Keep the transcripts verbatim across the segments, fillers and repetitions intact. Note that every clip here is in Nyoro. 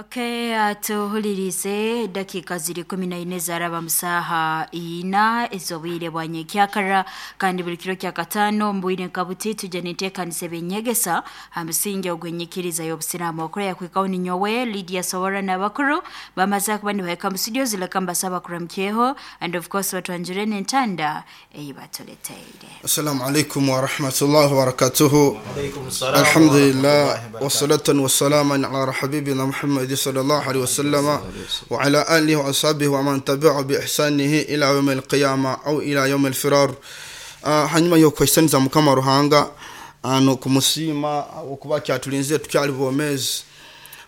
Okay, tuhulirize dakika ziri kumi na ine zaraba musaha ina ezobwire bwa nyekyakara kandi buli kiro kya katano mbwire nkabuti tujja niteekanisa ebyenyegesa ha musingi ogw'enyikiriza y'obusiraamu. Okora yakwikaho ni nyowe Lydia Sowora n'abakuru bamaze kuba nibahika mu studio zileka mbasaba kuramukyeho and of course batwanjure n'entanda eyi batuleteire. Assalamu alaikum warahmatullahi wabarakatuhu. Alaikum salam Alhamdulillah wa rahmatullahi wa barakatuh. Wassalatan wassalaman ala habibina Muhammad sallallahu alaihi wasallam wa ala alihi wa ashabihi wa man tabi'ahu bi ihsanihi ila yawm al-qiyama au ila yawm al-firar. Ah, hanyuma y'okwesaniza Mukama Ruhanga ano kumusiima okuba kyatulinze tukyali bwomeezi,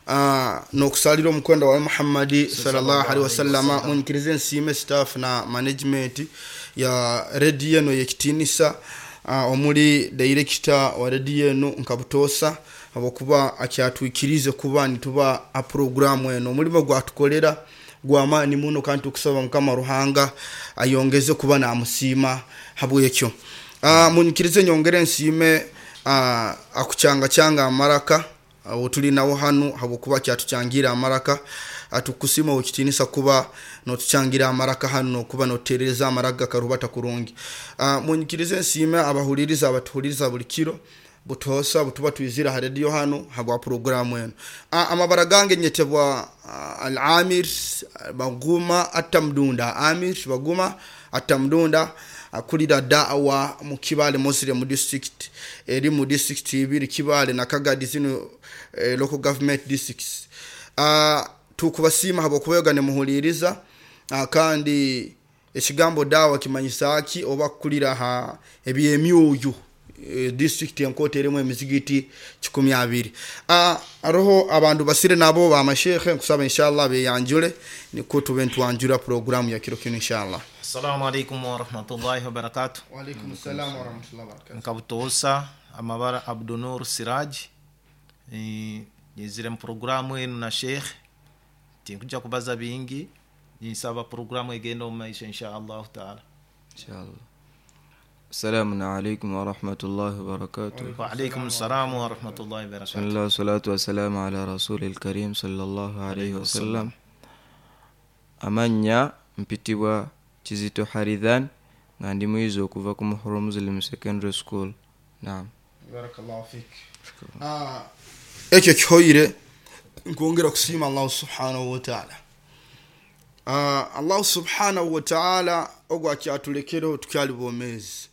Ah, n'okusalira omukwenda wa Muhammadi sallallahu alaihi wasallama. Munyikirize nsiime staff na management ya radio eno y'ekitinisa, ah, omuli director wa radio eno nkabutoosa habwokuba akyatwikirize kuba nituba a programu eno. Omulimo gwatukolera gwamaani muno kandi tukusaba Mukama Ruhanga ayongeze kuba namusiima habwekyo. Ah, munyikirize nyongere nsiime, ah, akucangacanga amaraka awo tuli nawo hanu habwokuba kyatuchangira amaraka. Atukusima okitinisa kuba notuchangira amaraka hanu nokuba notereza amaraka karubata kurungi. Uh, munyikirize nsiime abahuliriza abatuhuliriza buli kiro butosa butuba twizira ha radio hanu habwa programu eno. Uh, amabara gange nyetebwa uh, Al-Amir Baguma Atamdunda. Amir Baguma Atamdunda akulira da'wa mu Kibale Muslim District, eri mu district ibiri Kibale na Kagadi zino eh, local government districts. Uh, tukubasiima habwokuba nemuhuliriza, uh, kandi ekigambo dawa kimanyisa ki oba kukulira ha ebyemyoyo eh, district enkoto erimu emizigiti kikumi abiri. Uh, aroho abantu basire nabo bamashekhe nkusaba inshallah beyanjule niko tube ntwanjura programu ya kiro kino inshallah. Assalamu alaikum wa rahmatullahi wa barakatuh. Wa alaikum salam wa rahmatullahi wa barakatuh. Nkabutoosa amabara Abdunur Siraj. Eh, nyizire mu programu enu na Sheikh tinkuja kubaza bingi, ninsaba programu egenda omu maisha insha Allahu taala. Inshallah. Assalamu alaikum wa rahmatullahi wa barakatuh. Wa alaikum salam wa rahmatullahi wa barakatuh. Bismillah salatu wassalamu ala rasulil karim sallallahu alayhi wasallam. Amannya mpitibwa Kizito Haridhan nga ndi muyizi okuva ku Muhuru Muslim Secondary School. Naam. Barakallahu fik. Ah, ekyo kihoyire nkwongera kusiima Allah subhanahu wa ta'ala. Ah, Allah subhanahu wa ta'ala ogwo akyatulekereho tukyali bwomeezi.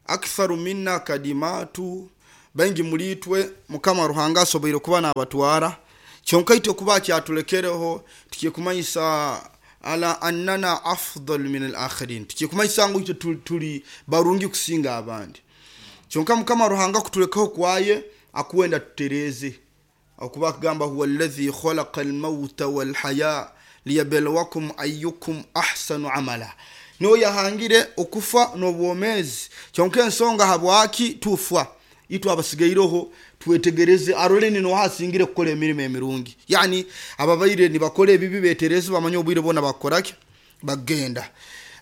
Aktharu minna kadimatu, baingi mulitwe Mukama Ruhanga asoboire kuba n'abatwara, kyonka itwe kuba akyatulekereho tukikumanyisa ala annana afdal min al-akhirin, tukikumanyisa ngu itwe tuli, tuli barungi kusinga abandi. Kyonka Mukama Ruhanga kutulekaho kwaye akuwenda tutereze, okuba akugamba huwa alladhi khalaqa al-mauta wal-haya liyabluwakum ayyukum ahsanu amala. Niwe yahangire okufa n'obwomeezi, kyonka ensonga habwaki tufa itwe abasigaireho twetegereze arole nino hasingire kukola emirimo emirungi. Yani ababaire nibakora ebibi betereze bamanye obwire bona bakoraki bagenda.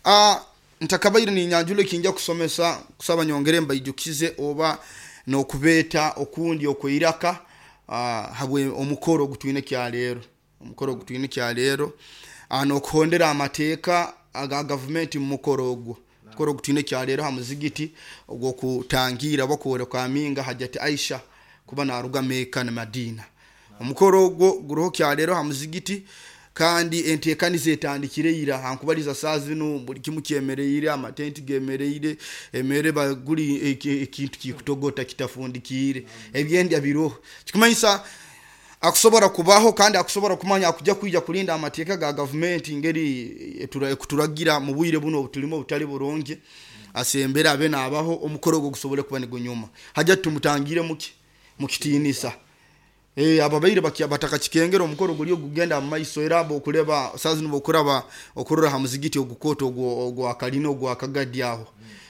Ah, ntakabaire ninyanjule kinja kusomesa kusaba nyongere mbaijukize oba nokubeeta okundi okweiraka, ah, habwe omukoro ogutwine kyaleero, omukoro ogutwine kyaleero, ah, nokuhondera amateeka aga gavumenti mu mukoro ogwo. Mukoro ogutwine kyaleero ha muzigiti ogw'okutangira bakwoleka aminga Hajati Aisha kuba naruga Mecca na Madina. Omukoro ogwo guroho kyaleero ha muzigiti kandi enteekaniza etandikire ira hankubaliza saa zino buli kimu kyemereire, amatenti gemereire, emere baguli ekintu kikutogota kitafundikiire, ebyendya biroho. Kikumanyisa akusobora kubaho kandi akusobora kumanya akujja kwija kulinda amateeka ga gavumenti ngeri ekuturagira mu bwire buno obutulimo obutali burungi, asembera abe naabaho omukoro ogwo gusobole kuba nigunyuma. Hajja tumutangire muki mukitiinisa. Eh, ababaire bakia bataka kikengera omukoro guli ogugenda mu maiso era bokuleba saa zino bokuraba okurora ha muzigiti ogukoto ogwo ogwo akalina ogwo akagadi aho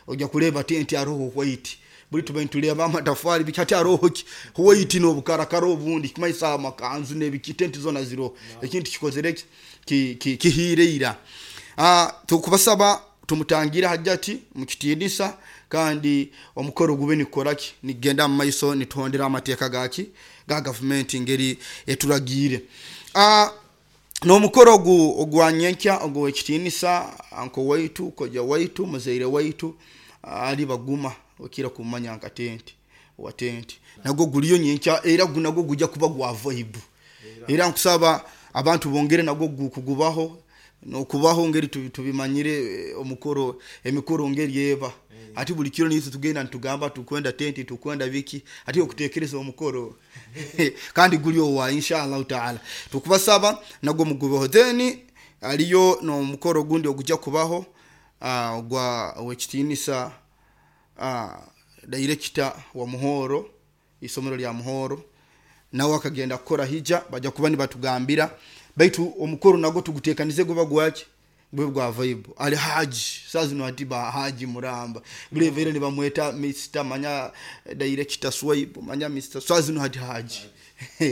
ojja kuleba tenti aroho white buli tube ntuleba amatafari bikati aroho ki white n'obukarakara obundi kimaisa amakanzu n'ebiki tenti zona ziro ekintu kikozere ki ki kihireira. Ah, tukubasaba tumutangira Hajati mukitiinisa kandi omukoro gube nikoraki nigenda mu maiso nituhondera amateeka gaki ga gavumenti ngeri eturagiire. Ah, n'omukoro ogu ogwa nyenkya ogw'ekitiinisa anko waitu koja waitu muzaire waitu ali baguma okira kumanya nka tenti wa tenti nagwo guliyo nyenkya era gunagwo gujja kuba gwa vibe era nkusaba abantu bongere nagwo kugubaho nokubaho ngeri tubimanyire omukoro emikoro ngeri eba ati buli kiro nizo tugenda ntugamba tukwenda tenti tukwenda biki ati okutekereza omukoro kandi guli wa inshallah taala tukubasaba nagwo mugubeho. Then aliyo no mukoro gundi ogujja kubaho uh, gwa wekitinisa uh, director wa Muhoro isomero lya Muhoro nawe akagenda kukora hija bajja kuba nibatugambira baitu omukoro nagwo tugutekanize guba gwaki bwe gwa vibe ali haji sazi no atiba haji muramba bule vere ni bamweta Mister manya director Swipe manya Mister sazi no hati haji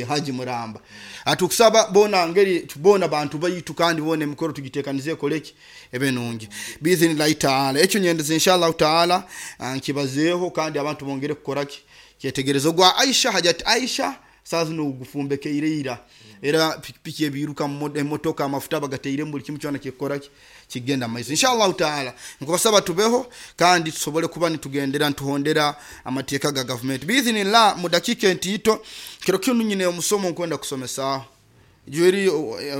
haji muramba atukusaba bona ngeri tubona bantu bayitu kandi bone emikoro tugitekanize koleki ebe nungi biizni taala ekyo nyendeze inshallah taala nkibazeeho kandi abantu bongere kukoraki kyetegerezo gwa Aisha hajat Aisha sazi no gufumbekeire era pikipiki ebiruka emotoka amafuta bagateire buli kimu kyona kyekoraki kigenda maiso inshallah taala nkubasaba tubeho kandi tusobole kuba nitugendera ntuhondera amateeka ga government biiznillah mu dakika entiito kiro kinu nyine omusomo nkwenda kusomesa jweri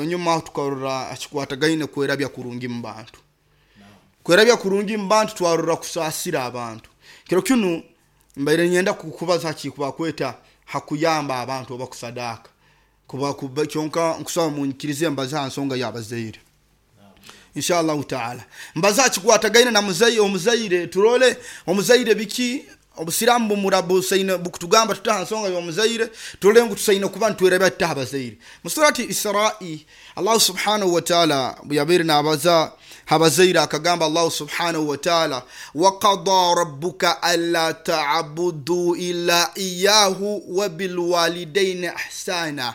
nyuma tukarora akikwatagaine kwerabya kurungi mu bantu kwerabya kurungi mu bantu twarora kusasira abantu kiro kinu mbaire nyenda kukubaza kikuba kweta hakuyamba abantu obakusadaka kuba kuba kyonka nkusaba munkirize mbaza nsonga yabazaire inshallah taala mbaza kikwatagaine na muzayi omuzaire turole omuzaire biki obusiramu bumurabu saina bukutugamba tutaha nsonga y'omuzaire turole ngu tusaina kuba ntwerabya tutaha bazaire musurati Isra'i Allah subhanahu wa ta'ala buyabere nabaza habazaire akagamba Allah subhanahu wa ta'ala wa qada rabbuka alla ta'budu illa iyyahu wa bil walidayni ihsana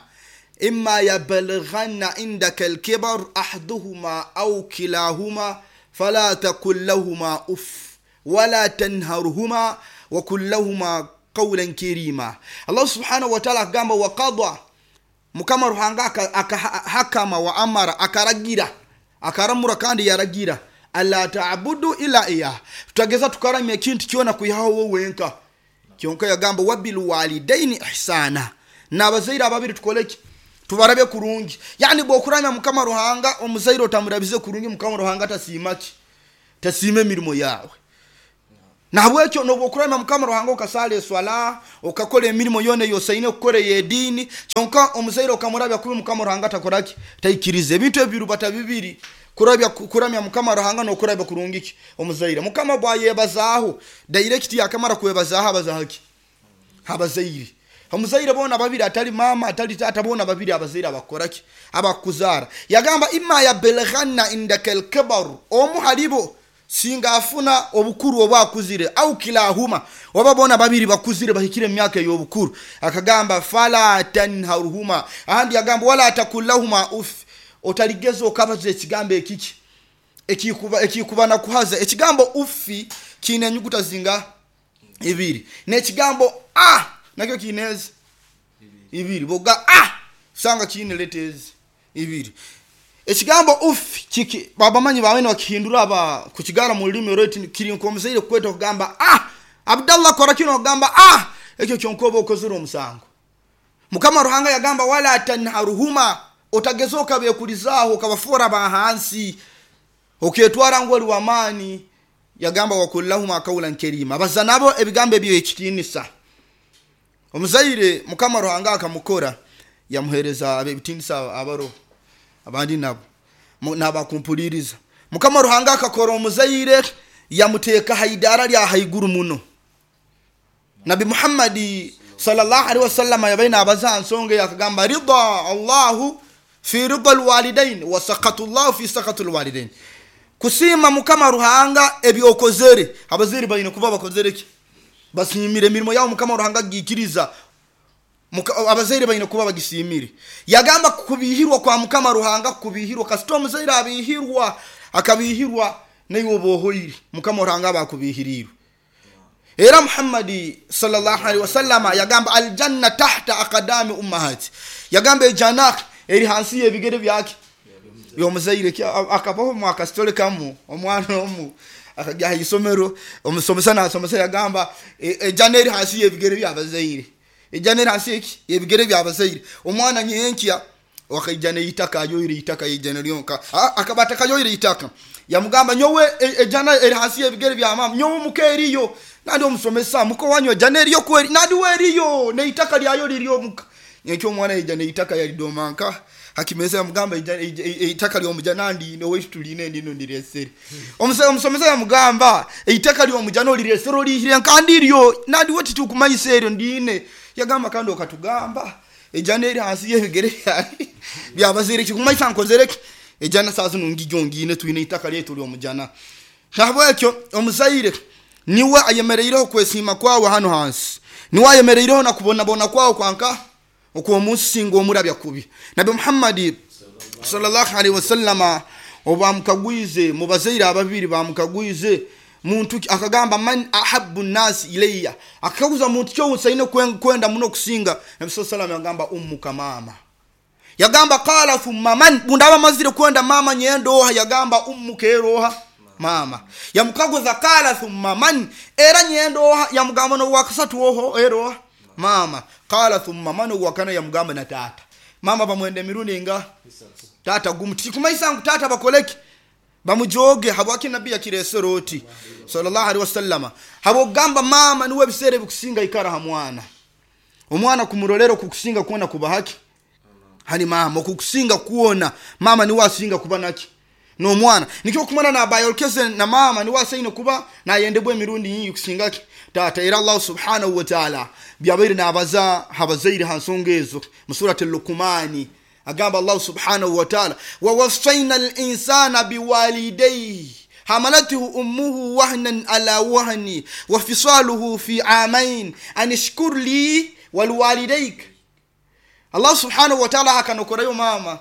imma yabalghanna indaka al-kibar ahaduhuma aw kilahuma fala taqul lahuma uff wala tanharhuma wa qul lahuma qawlan karima. Allah subhanahu wa ta'ala akagamba wa qada mukama Ruhanga akahakama wa amara akaragira akaramura kandi yaragira alla ta'budu illa iya tutageza tukaramya ekintu kyona kuyaho wowe wenka kyonka yagamba wabil walidaini ihsana nabazaire ababiri tukoleki tubarabe kurungi yani bwokuramya mukama Ruhanga omuzaire otamurabize kurungi mukama Ruhanga tasimaki tasime mirimo yawe nahabwekyo nobwokuramya mukama Ruhanga okasala eswala okakola emirimo yone yosaine okukora edini kyonka omuzaire okamurabya kubi mukama Ruhanga takoraki taikirize ebintu ebiru bata bibiri kurabya kuramya mukama Ruhanga nokurabya kurungi omuzaire mukama bwayebazaaho direct yakamara kwebazaho abazahaki abazaire omuzaire bona babiri atali mama atali tata bona babiri abazaire abakoraki abakuzara yagamba imma ya belghanna indaka al-kibar omu halibo singa afuna obukuru obwakuzire au kilahuma oba bona babiri bakuzire bahikire emyaka y'obukuru akagamba fala tanharuhuma ahandi yagamba wala takullahuma uf otaligeza okabaza ekigambo ekiki ekikuba ekikuba na kuhaza ekigambo ufi kine enyuguta zinga ibiri n'ekigambo a nakyo kinezi ibiri boga a sanga kine letters ibiri ekigambo ufi kiki babamanyi bawe bakihindura aba kukigara mu lulimi rweti kiri nkomuzaire kweta kugamba ah Abdallah kora kino kugamba ah ekyo kyonkoba okozera omusango mukama Ruhanga yagamba wala tanharuhuma otagezoka bekulizaaho kabafora bahansi oketwara ngoli wamani yagamba wakullahuma qawlan karima bazanabo ebigambo ebyo ekitinisa omuzaire mukama Ruhanga akamukora yamuhereza abebitinisa abaro abandi nabo nabakumpuliriza mukama Ruhanga akakora omuzaire yamuteka haidara lya haiguru muno Nabi Muhammad sallallahu alaihi wasallam yabaina abaza nsonga yakagamba ridha Allahu fi ridha alwalidain wa saqatu Allahu fi saqatu alwalidain kusima mukama Ruhanga ebyokozere abaziri bayine kuba bakozere ki basimire emirimo yawo mukama Ruhanga gikiriza abazaire bayine kuba bagisimire yagamba kubihirwa kwa mukama Ruhanga kubihirwa kasito omuzaire abihirwa akabihirwa nayo bohoyiri mukama Ruhanga bakubihirirwe era Muhammad sallallahu alaihi wasallam yagamba aljanna tahta aqdami ummahati yagamba ejana Eri hansi y'ebigere byake byomuzaire. Akabaho mwakasitole kamu omwana omu akajya ha isomero, omusomesa nasomesa yagamba ejana eri hansi y'ebigere by'abazaire, ejana eri hansi eki y'ebigere by'abazaire. Omwana nyenkya wakaija neitaka ayoire itaka ijana lyonka, akaba atakayoire itaka, yamugamba nyowe ejana eri hansi y'ebigere bya mama, nyowe muka eriyo nandi omusomesa muko wanyu ejana eriyo kweri nandi weriyo neitaka lyayo liryo muka. Nyenkya omwana yaija neitaka yalidomanka hakimeza, yamugamba eitaka lyomujana ndi owaitu tuline ndino ndiresere. Omusomesa yamugamba eitaka lyomujana oliresere olihire nkandi iryo nandi we titukumanyisa eryo ndine. Yagamba kandi okatugamba ejana eri hansi y'ebigere byabazaire kikumanyisa nkozereki ejana saa zino ngijo ngine twine itaka lyetu lyomujana. Nahabwekyo omuzaire niwe ayemereireho kwesiima kwawe hano hansi, niwe ayemereireho nakubonabona kwawe kwanka okwomunsi omurabya kubi. Nabi Muhammad sallallahu alaihi wasallama obamukagwize mubazaire ababiri bamukagwize muntu akagamba man ahabbu nasi ilayya, akaguza muntu kyo usaine kwenda muno kusinga. Nabi sallallahu alaihi yagamba ummuka mama, yagamba qala thumma man, bundaba mazire kwenda mama nyendoha, yagamba ummuka eroha mama. Yamukaguza qala thumma man, era nyendoha, yamugamba no wakasatu oho eroha mama. Qala thumma man, wakana yamugamba na tata. Mama bamwende mirundi nga tata gumu tikumaisa ngu tata bakoleki bamujoge habwaki nabi yakiresero oti sallallahu alaihi wasallama habogamba mama niwe bisere bikusinga ikara ha mwana, omwana kumurolero kukusinga kuona kubahaki hani mama kukusinga kuona mama niwe asinga kuba naki no mwana nikyo kumana na bayolkeze na mama niwe asaine kuba nayendebwe emirundi yingi kusingaki tata. Era Allah subhanahu wa ta'ala byabaire nabaza habazaire hansonga ezo mu surati al-Luqmani agamba Allah subhanahu wa ta'ala wa wasaina al-insana biwalidayhi hamalatuhu ummuhu wahnan ala wahni wa fisaluhu fi amain an ishkur li walwalidayk. Allah subhanahu wa ta'ala akanokorayo mama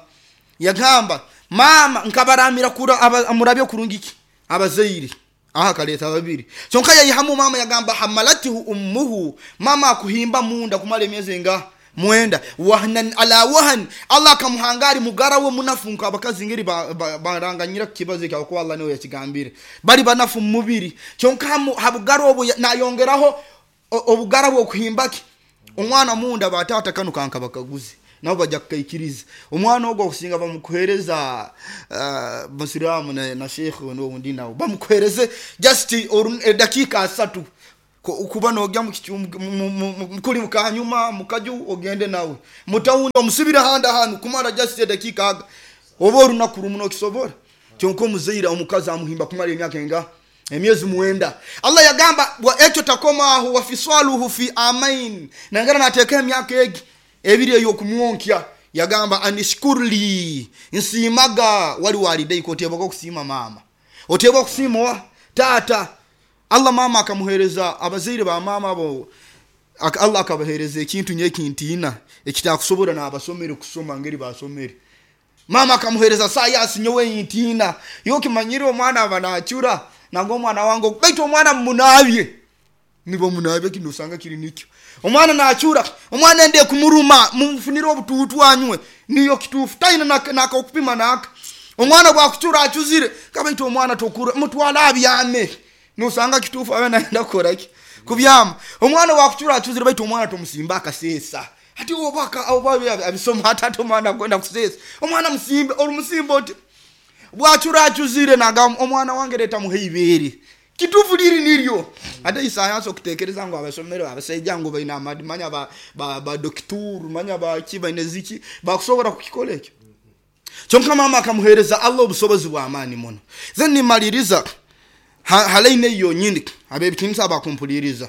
yagamba mama nkabaramira kura amurabyo kurungiki abazaire aha kaleta babiri kyonka yayihamu mama yagamba hamalatuhu ummuhu, mama akuhimba munda kumala emyezi nga mwenda wahnan ala wahn, Allah kamuhangari mugara we munafu abakazi ngeri baranganyira ba, kibazo kya ko Allah niwe yakigambire bali banafu mubiri kyonka habugara obu nayongeraho obugara bwo kuhimbaki omwana munda batata kanu kanka bakaguze nabo bajja kukaikiriza omwana ogwo okusinga bamukuhereza uh, musiramu na, na sheikh no undi nawo bamukuhereze just dakika asatu kuba nogya mukuli mukanyuma mukaju ogende nawe mutawundi omusibira handa hanu kumara just dakika aga oba orunaku rumu nokisobora. Kyonka omuzaire omukazi amuhimba kumara emyaka enga emyezi mwenda. Allah yagamba wa ekyo takomaho wa fiswaluhu fi amain, nangara nateeka emyaka egi ebiri eyokumwonkya. Yagamba anishkurli nsiimaga wali walidayika, oteebwa kusiima mama, oteebwa kusiima wa tata. Allah mama akamuhereza abazaire ba mama abo Allah akabahereza ekintu nyekintina ekitakusobora n'abasomere kusoma ngeri basomere. Mama akamuhereza science nyowe intina yokimanyire omwana abanachura nango omwana wangu baitu omwana munabye nibo munabye kino usanga kiri nikyo omwana nachura omwana ende kumuruma mumfunire obututu anywe niyo kitufu taina nakokupima naka omwana bwakuchura achuzire kabaitu omwana tokura mutwala abyame nusanga kitufu abe naenda kukoraki kubyama omwana wakuchura achuzire baitu omwana tomusimba akasesa ati obaka oba abisoma atatu omwana kwenda kusesa omwana musimbe olumusimba oti bwachura achuzire naga omwana wange leta muheibere kitufu liri niryo. Ate isayansi okutekereza ngo abasomero abasajja ngo baina amanya ba ba, ba doctor manya ba ki baine ziki bakusobora kukikola ekyo. Kyonka mama akamuhereza Allah obusobozi bwa amani muno. Then nimaliriza halaine yonyini abebitinsa abakumpuliriza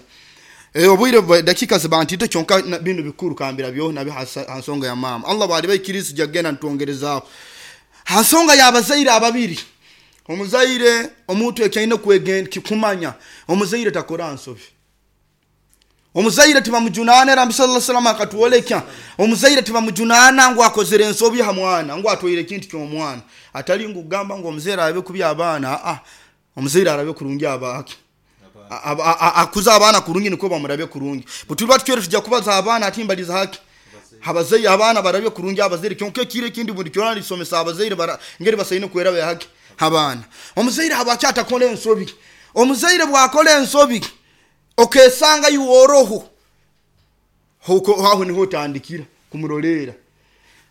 e obwire dakika zibantite kyonka bino bikuru kambira byo nabi hansonga ya mama Allah bali bayikiriza jagenda ntongerezaaho hansonga yabazaire ababiri. Omuzaire omuntu ekyaine kwegenda kikumanya omuzaire takora nsobi, omuzaire tibamujunana era Nabi sallallahu alaihi wasallam akatuoleka omuzaire tibamujunana ngo akozere ensobi ha mwana ngo atwaire ekintu ky'omwana atali ngugamba ngo omuzaire arabe kubya abaana a omuzaire arabe kurungi abaki akuza abaana kurungi niko bamurabe kurungi butuba tutwere tujja kubaza abaana atimbaliza haki Abazaire abaana barabye kurungi abazaire, kyonka ekiro ekindi buli kyona nisomesa abazaire bara ngeri basaine kweraba yahaki abaana. Omuzaire habwaki atakora ensobi? Omuzaire bwakora ensobi okesanga iworoho huko aho niho otandikira kumurolera.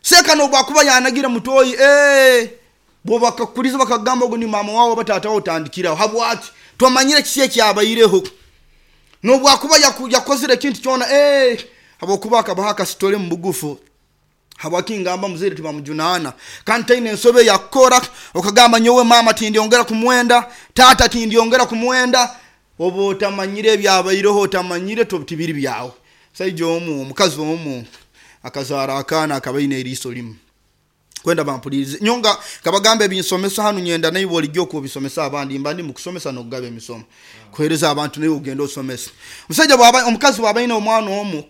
Seka nobwakuba yanagira mutoyi eh bo bakakuliza bakagamba ogu ni mama wawe batata wawe otandikira habwaki twamanyire kiki ekyabaireho. Nobwakuba yakozire ekintu kyona eh habwokuba akabaha akasitole mu bugufu. Habwaki ngamba muzaire tibamujunana kandi taine ensobe yakora okagamba nyowe mama tindyongera kumwenda, tata tindyongera kumwenda, oba otamanyire ebyabaireho, otamanyire tibiri byawe. Saija omu omukazi omu akazara akaana akabaine eriiso limu. Kwenda bampulirize nyonga kabagamba ebinsomesa hanu nyenda naiwe olijja okubisomesa abandi, mba ndi mukusomesa n'okugaba emisomo kuhereza abantu naye ogenda osomesa. Omusajja bwaba omukazi bwaba aine omwana omu,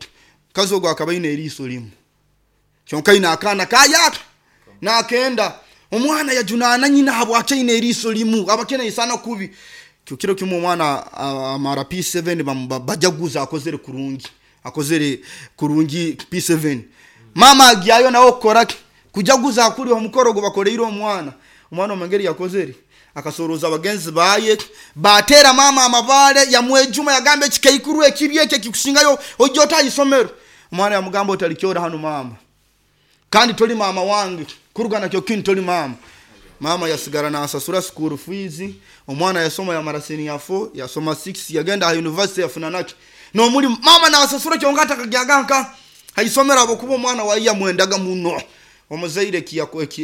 omukazi ogwo akaba aine eriiso limu kyonka aine akaana kayaka nakenda. Omwana yajunaana nyina habwaki aine eriiso limu, abakene isana kubi. Kiro kimu omwana amara P seven bajaguza akozere kurungi, akozere kurungi P seven. Mama agyayo nawe okukoraki kujaguza akuri omukoro gwo bakoleire omwana. Omwana omengeri yakozere akasoroza abagenzi baye batera mama amabale yamwejuma yagamba ekikaikuru ekibi ekyo kikusingayo ojja otayisomero. Omwana yamugamba otalikyora hano mama, kandi toli mama wange kurugana kyo kintu toli mama. Mama yasigara nasasura school fees, omwana yasoma yamara senior four, yasoma six, yagenda ha university yafuna naki nomuli mama nasasura kyonka atakagyaganka haisomera abokuba omwana wayi yamwendaga muno. Omuzaire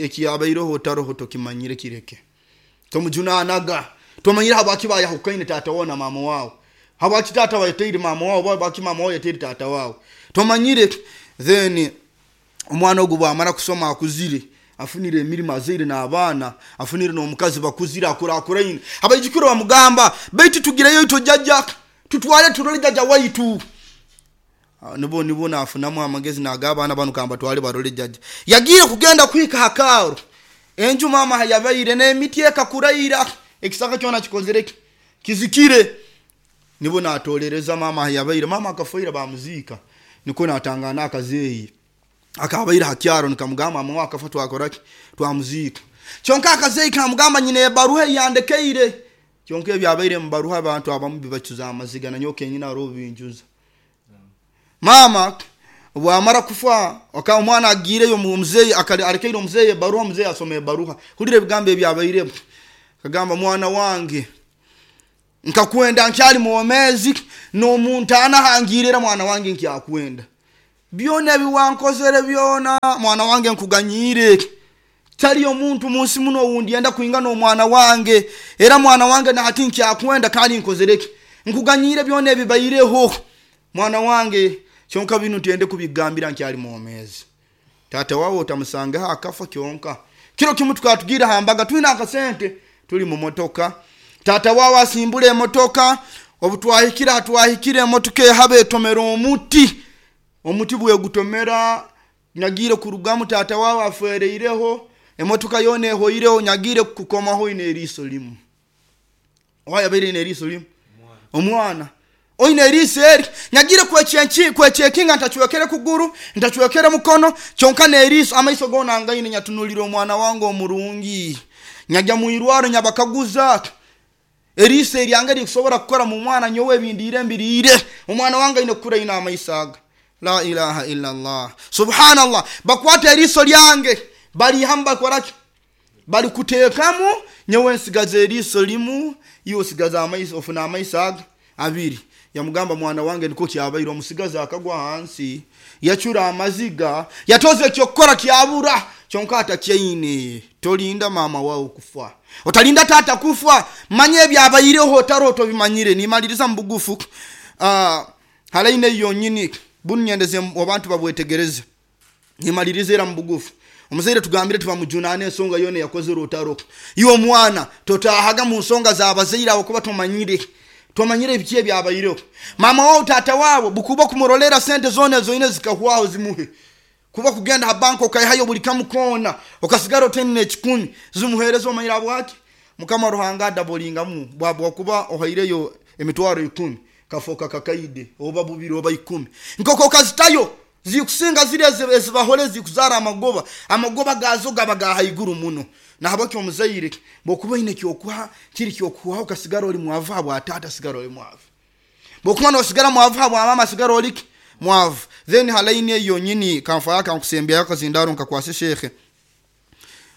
ekiyabaireho otaroho tokimanyire kireke tomujunanaga. Tomanyire habwaki bayahukaine tata wawe na mama wawe, habwaki tata wayeteire mama wawe, habwaki mama wawe yeteire tata wawe, tomanyire. Then omwana ogwo bwamara kusoma akuzire afunire emirimo azaire n'abaana afunire n'omukazi bakuzire akurakuraine. Abaijukuru bamugamba baitu tugireyo itwe jjajja tutwale turole jjajja waitu. Nibo nibo nafunamu amagezi nag'abaana banu kamba twale barole jjajja. Yagiye kugenda kuhika hakaaro enju mama hayabaire n'emiti ekakuraira ekisaka kyona kikozere kizikire. Nibo natolereza mama hayabaire, mama akafaira bamuziika. Niko natangana akazeeyi akabaire hakyaro nikamugamba mama akafa twakoraki twamuziika. Kyonka akazeeyi kamugamba nyina ebaruha yandekeire. Kyonka ebyabaire mu baruha abantu abamu bibacuza amaziga na nyowe kenyina aroho binjuza. Mama bwamara kufa oka omwana agiireyo omuzeeyi arekeire omuzeeyi ebaruha, omuzeeyi asoma ebaruha hulira ebigambo ebyabairemu. Kagamba mwana wange nkakwenda nkyali mwomezi n'omuntaana hangirira mwana wange nkyakwenda byona ebiwankozere byona mwana wange nkuganyire. Tali omuntu munsi muno owundi yenda kuingana omwana wange era mwana wange nahati nkyakwenda kandi nkozereki nkuganyire byona ebibaireho mwana wange. Kyonka binu ntiyende kubigambira nkyali mwomezi. Tata wawe otamusangaho akafa kyonka. Kiro kimu tukatugira hambaga twina akasente tuli mu motoka. Tata wawe asimbula emotoka obutwahikira atwahikira emotoka ehaba etomera omuti. Omuti bwegutomera nyagire kurugamu tata wawe afereireho emotoka yona ehoireho nyagire kukomaho ine eriiso limu. Owayabaire ine eriiso limu omwana oine eriiso eri nyagire kwekyekinga ntachwekere kuguru ntachwekere mukono kyonka n'eriiso amaiso gona ngaine nyatunulira omwana wange omurungi. Nyajya mwirwaro nyabakaguza eriiso eryange likusobora kukora mu mwana nyowe ebindiire mbiriire omwana wange aine kukura ine amaiso aga. La ilaha illa Allah subhanallah. Bakwata eriiso lyange balihamu bakoraki balikuteekamu nyowe nsigaza eriiso limu iwe osigaza amaiso ofuna amaiso aga abiri. Yamugamba mwana wange niko kyabaire. Omusigaza akagwa hansi yacura amaziga yatoze ekyokukora kyabura kyonka atakyaine. Tolinda mama wawe kufa, otalinda tata kufa, manye ebyabaireho otaro otobimanyire. Nimaliriza mu bugufu uh, halaine yonyini bunu nyendeze abantu babwetegereze. Nimaliriza era mu bugufu. Omuzaire tugambire tubamujunane ensonga yona yakozere otaro. Iwe omwana totahaga mu nsonga z'abazaire abo kuba tomanyire tomanyire ebiki ebyabaireho. Mama wawe tata wawe bukuba kumurolera sente zona zoine zikahwaho zimuhe. Kuba kugenda ha banka okaihayo buli kamu kona okasigara otene ekikumi zimuhereza omanyira bwaki Mukama Ruhanga adabolingamu bwabwa kuba ohaireyo emitwaro ikumi kafoka kakaide oba bubiri oba ikumi nkoko kazitayo Zikusinga ziri ezibahole zikuzara amagoba. Amagoba gazo gaba ga haiguru muno. Na habaki omuzaire bokuba ine kyokuha kiri kyokuha ukasigara oli mwavu habwa tata sigara oli mwavu. Bokuba no sigara mwavu habwa mama sigara oli mwavu. Then halaini eyo nyini kanfa yaka nkusembya yakazindaro nkakwase shekhe.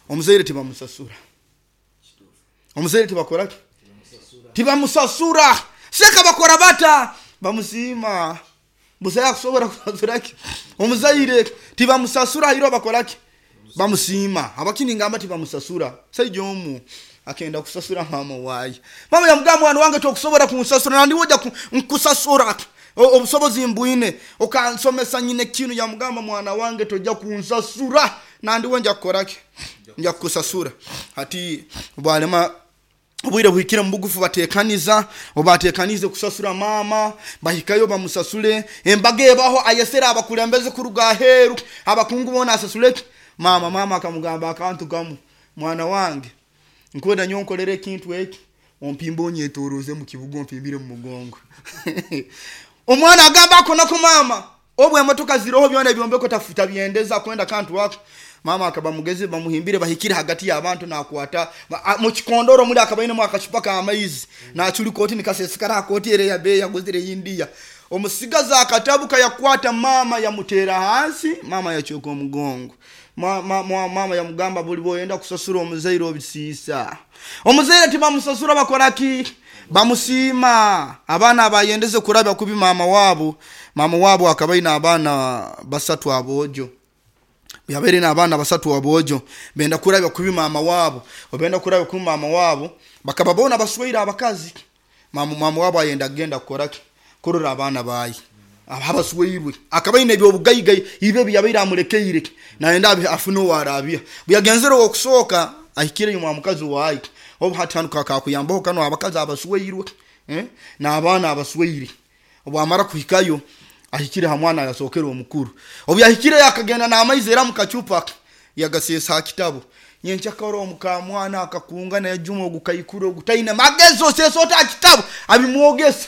Omuzaire tibamusasura. Omuzaire tibakora ki? Tibamusasura. Seka bakora bata bamusima. Busaya kusobora kusasura ki? Omuzaire tibamusasura hiro bakora ki? Bamusima. Abakini ngamba tibamusasura. Saijo omu akenda kusasura mama wayi. Mama yamugamba mwana wange tokusobora kunsasura nandi woja nkusasura. Obusobozi mbuine okansomesa nyine kinu yamugamba mwana wange tojja kunsasura nandi wenja kukoraki nja kukusasura. Hati bwalema obwire buhikire mubugufu batekaniza obatekanize kusasura mama bahikayo bamusasule embaga ebaho ayesera abakulembeze kuruga aheru abakungu bona asasule mama. Mama akamugamba akantu gamu mwana wange nkwenda nyonkolere ekintu eki ompimba onyetoroze mu kibuga ompimbire mu mugongo. Omwana agamba akona ku mama obwe emotoka ziroho byona ebyombeko tafuta byendeza kwenda kantu wako. Mama akaba mugezi bamuhimbire bahikire hagati y'abantu nakwata mu kikondoro muri akabaine mu akachupa ka amaizi nachuli koti nikasesekara koti ere ya be yaguzire India. Omusigaza akatabuka yakwata mama yamutera hansi mama yachoka omugongo. Ma, ma, ma, mama yamugamba buli boyenda kusasura omuzaire obisiisa. Omuzaire tibamusasura bakora ki? Bamusima. Abaana abayendeze kurabya kubi mama wabo. Mama wabo akabaina abaana basatu abojo. Yabere na abaana basatu abojo benda kurabya kubi mama wabo. Obenda kurabya kubi mama wabo bakaba bona baswaira abakazi. Mama mama wabo ayenda genda kukoraki kurora abaana bayi abaswairwe akabaina ebyobugayigayi ibe byabaira amulekeire naenda afuno warabia buyagenzero okusoka ahikire yumwa mukazi wayi obu hatanuka kakuyambaho kano abakazi abaswairwe eh na abaana abaswaire. Obwamara kuhikayo ahikire hamwana yasokera omukuru. Obu yahikire yakagenda na amaizi era mukachupa yagasesa kitabo. Nyenchakaro omukamwana akakunga na yajuma ogukayikuru ogutaina magezo sesota kitabo abimwogesa.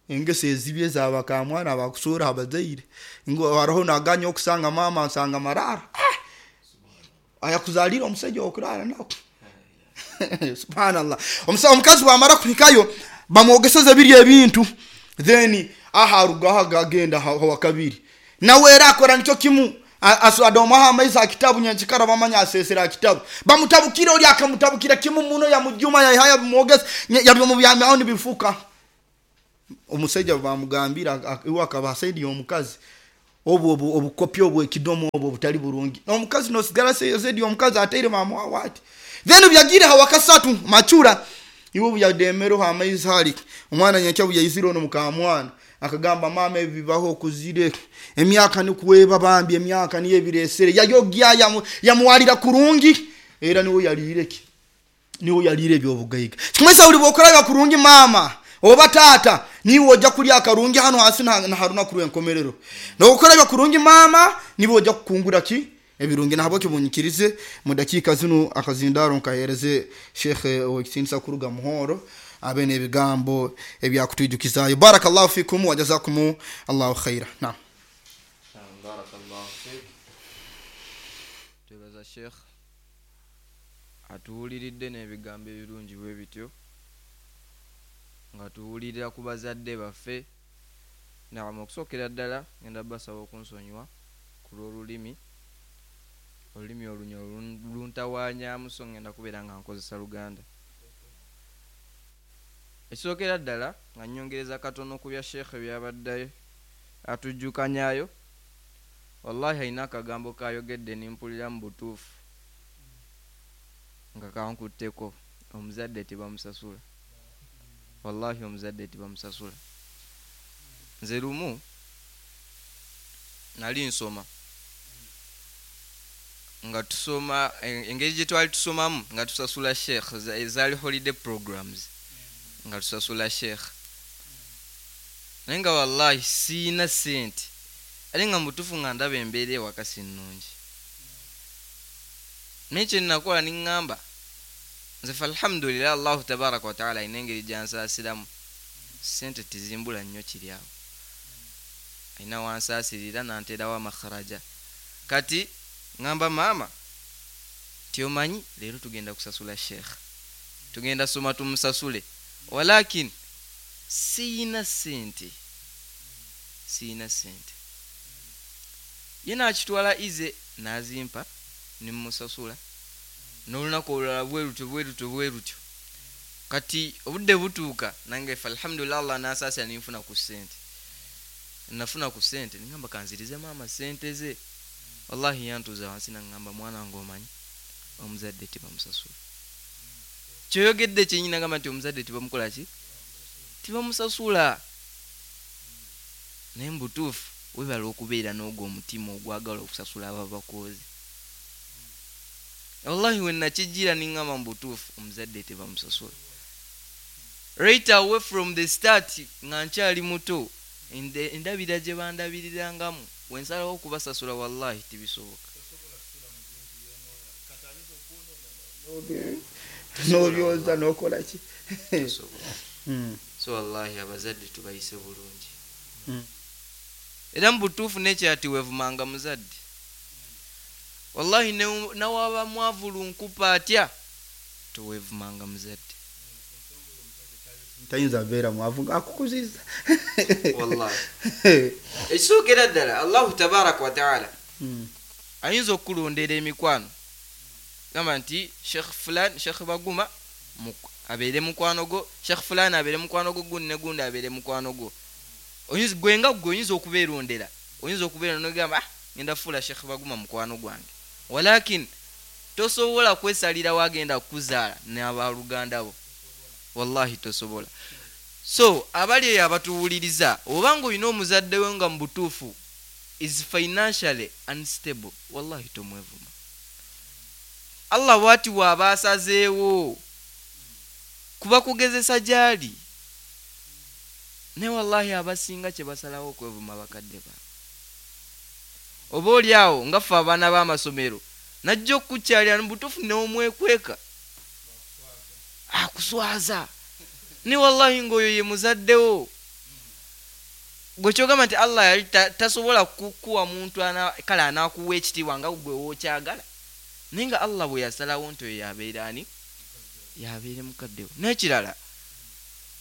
Engese ezibye zabakamwana abakusura abazaire ngo haraho naganya okusanga mama nsanga marara ah! Ayakuzalira omusajja okurara nako. Subhanallah. Omusa omukazi wamara kuhikayo bamwogeseza biri ebintu then aha rugaha gagenda hawa kabiri nawe era akora nicyo kimu adomaha amaizi akitabu nyanchikara bamanya asesera kitabu bamutabukira oli akamutabukira kimu muno ya mujuma ya haya bimwogesa yabimubyamya nibifuka. Omusajja bamugambira iwe akaba saidi omukazi obu obu obukopi obu ekidomo obu butali burungi omukazi no sigara saidi omukazi ateire mama wati. Then byagire hawakasatu machura iwe byademero amaizi hali omwana nyacha buyayiziro no mukamwana akagamba mama ebibaho kuzire emyaka nikuweba bambi emyaka niye biresere yayogya yamuwalira kurungi era niwe yalireki niwe yalire byobugayiga. Kimwesa uli bokora kurungi mama oba tata niwe ojja kulya akarungi hano hasi na haruna kuru enkomerero nokora kurungi mama niwe ojja kukungura ki ebirungi. Nabo kibunyikirize mu dakika zino akazindaro nkahereze Sheikh Okisinsa kuruga muhoro abene ebigambo ebyakutwijukizayo. Barakallahu fikum wa jazakum Allahu khaira. Naam, barakallahu fik. Twebaza Sheikh atuwuliridde n'ebigambo ebirungi bwe bityo nga tuwulirira ku bazadde baffe. Naam, okusookera ddala ngenda basaba okunsonyiwa ku lw'olulimi olulimi olunyo luntawaanyaamu so ngenda kubeera nga nkozesa Luganda. Ekisookera ddala nga nnyongereza katono ku bya Sheikh byabadde atujjukanyaayo, wallahi alina akagambo kayogedde nimpulira mu butuufu nga kankutteko. Omuzadde tebamusasula, wallahi omuzadde tebamusasula. Nze lumu nali nsoma nga tusoma engeri gye twali tusomamu nga tusasula Sheikh ezaali holiday programs nga tusasula Sheikh, naye nga wallahi siina ssente ate nga mutuufu nga ndaba embeera ewaka si nnungi. Naye kye nnakola niŋŋamba nze fa alhamdulillah Allahu tabaraka wataala alina engeri gyansaasiramu ssente tizimbula nnyo kiri awo. Alina wansaasirira nanteerawo amakharaja. Kati ŋŋamba maama ti omanyi leero tugenda kusasula sheekh, tugenda soma tumusasule, walakin siyina ssente, siyina ssente. Ye n'akitwala ize n'azimpa ne mmusasula. N'olunaku olulala bwe lutyo bwe lutyo bwe lutyo. Kati obudde butuuka nange fe alhamdulillah Allah n'ansaasira ne nfuna ku ssente. Nafuna ku ssente ne ŋŋamba kanzirize maama ssente ze. Wallahi yantuuza wansi n'aŋŋamba mwana wange omanyi omuzadde tebamusasula. Kyoyogedde kyennyini n'agamba nti omuzadde tebamukola ki? Tebamusasula. Naye mu butuufu weebale okubeera n'ogwo omutima ogwagala okusasula ababakooze. Wallahi we nakijjira ne ŋŋamba mu butuufu omuzadde tebamusasula. Right away from the start nga nkyali muto endabira gye bandabirirangamu we nsalawo okubasasula wallahi tebisoboka. N'obyoza n'okola ki? So wallahi abazadde tubayise bulungi. Era mu butuufu n'ekirala tiweevumanga muzadde. Wallahi nawaba mwavu lunkupa atya toweevumanga muzadde. Tayinza beera mwavu ng'akukuzizza. Wallahi ekisookera ddala Allahu tabaraka wa taala ayinza okukulondera emikwano, gamba nti Sheikh fulan, Sheikh Baguma abeere mukwano gwo, Sheikh fulan abeere mukwano gwo, gundi ne gundi abeere mukwano gwo. Gwe nga gwe oyinza okubeerondera, oyinza okubeera n'ogamba ah ngenda fuula Sheikh Baguma mukwano gwange, walakin tosobola kwesalirawo agenda kukuzaala n'abaluganda bo, wallahi tosobola. So abali eyo abatuwuliriza, obanga olina omuzadde we nga mu butuufu is financially unstable, wallahi tomwevuma. Allah bw'ati bw'aba asazeewo kuba kugezesa gy'ali, naye wallahi abasinga kye basalawo okwevuma bakadde baabwe. Oba oli awo nga ffe abaana b'amasomero najja okukukyalira mu butuufu n'omwekweka akuswaza, ne wallahi ng'oyo ye muzaddewo. Gwe kyogamba nti Allah yali tasobola kukuwa muntu kale anaakuwa ekitiibwa nga gwe w'okyagala, naye nga Allah bwe yasalawo nti oyo yabeera ani, yabeere mukaddewo. N'ekirala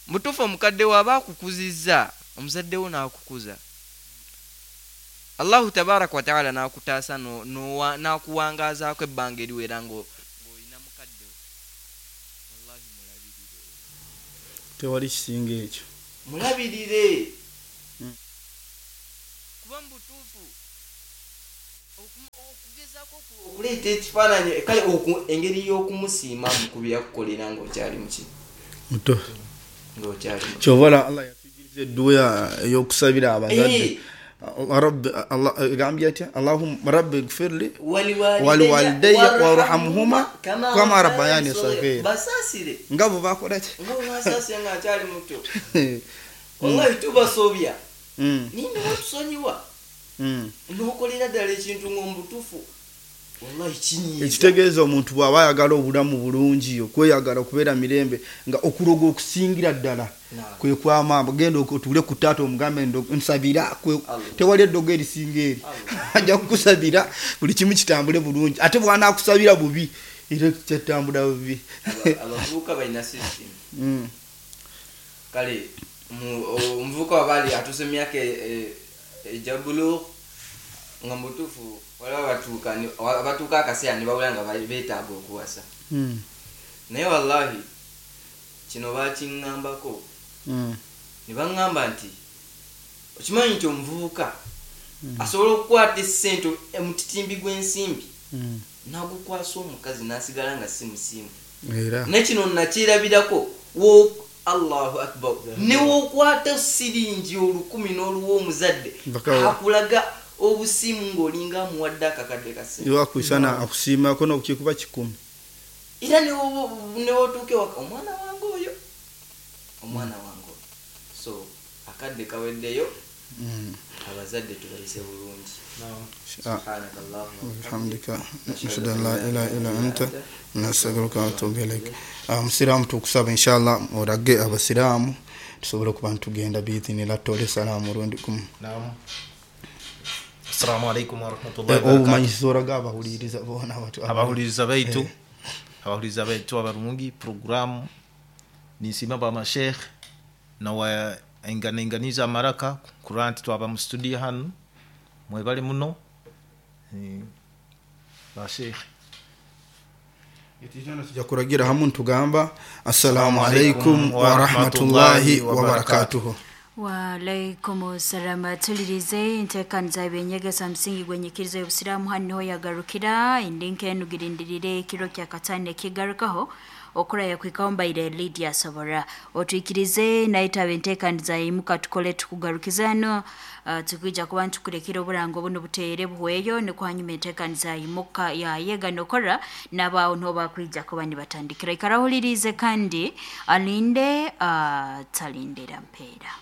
mutuufu omukadde wo aba akukuzizza, omuzaddewo n'akukuza, Allahu tabaraka wa taala n'akutaasa n'akuwangaazaako ebbanga eriwera ng'olina mukaddewo, wallahi mulabirire. Tewali kisinga ekyo, mulabirire kuba mu butuufu okugezaako okuleeta ekifaananyi kale engeri y'okumusiimamu ku byakukolera ng'okyali muki muto, ng'okyali muto. Kyova Allah yatuyigiriza edduwa ey'okusabira abazadde. Rabbi Allah egambye atya? Allahumma rabbi ighfirli waliwalidayya warhamhuma kama rabbayani saghira. Basaasire nga bwe bakola ki? Nga bwe basaasire nga nkyali muto. Wallahi tubasobya naye ne batusonyiwa n'okolera ddala ekintu ng'omubutuufu wallahi kinyiiza. Ekitegeeza omuntu bw'aba ayagala obulamu bulungi, okweyagala okubeera mirembe, nga okuloga okusingira ddala kwe kwamamba. Genda otuule ku taata omugambe nsabira, tewali eddogo erisinga eri, ajja kukusabira buli kimu kitambule bulungi. Ate bw'anaakusabira bubi era kyatambula bubi. Abavubuka balina system. Kale omuvubuka waba ali atuuse mu myaka egya bulugh nga mubutuufu waliwo abatuuka akaseera ne bawulira nga beetaaga okuwasa, naye wallahi kino bakiŋŋambako ne baŋŋamba nti okimanyi nti omuvubuka asobola okukwata essente omutitimbi gw'ensimbi n'agukwasa omukazi n'asigala nga si musiimu. Naye kino nakyerabirako Allahu akbar, ne w'okwata siringi olukumi n'oluwa omuzadde akulaga obusiimu ng'olinga amuwadde akakadde ka ssente. Iwakusana akusiimako n'okukikuba kikumi. Era ne w'otuuka ewaka omwana wange oyo, omwana wange oyo. So akadde kaweddeyo, abazadde tubayise bulungi. Subhanaka Allahumma wa bihamdika nashhadu an la ilaha illa anta nastaghfiruka wa atubu ilaik. Musiraamu tukusaba inshallah olage abasiraamu Tusobole okuba ntugenda biidhinillah. Tutole salaamu rundi gumu. Naam, assalamu alaikum warahmatullahi wabarakatuh. Obumanyiso oraga abahuliriza boona abatu- Abahuliriza baitu, abahuliriza baitu abarungi, programu ninsima bamashekh nawe enganainganiza amaraka kurora nti twaba mu studio hanu. Mwebale muno. Eh, bashekh. Itijana tujja kuragira hamu ntugamba assalamu alaikum warahmatullahi wabarakatuhu. Waalaikum salama. Tulirize enteekaniza y'ebyenyegesa musingi gwenyikiriza y'obusiraamu hanu niho yagarukira indi nkenu girindirire ekiro kya katano ekigarukaho okuraya kwikaho mbaire Lydia Sobora otwikirize naitaba enteekaniza yimuka tukole tukugarukiza hano. uh, tukwija kuba ntukurekera oburango buno buteere buhweyo nikwo hanyuma enteekaniza yimuka yayega nokora n'abaawo niho bakwija kuba nibatandikira. Ikara ohulirize kandi alinde uh, talindira mpeera.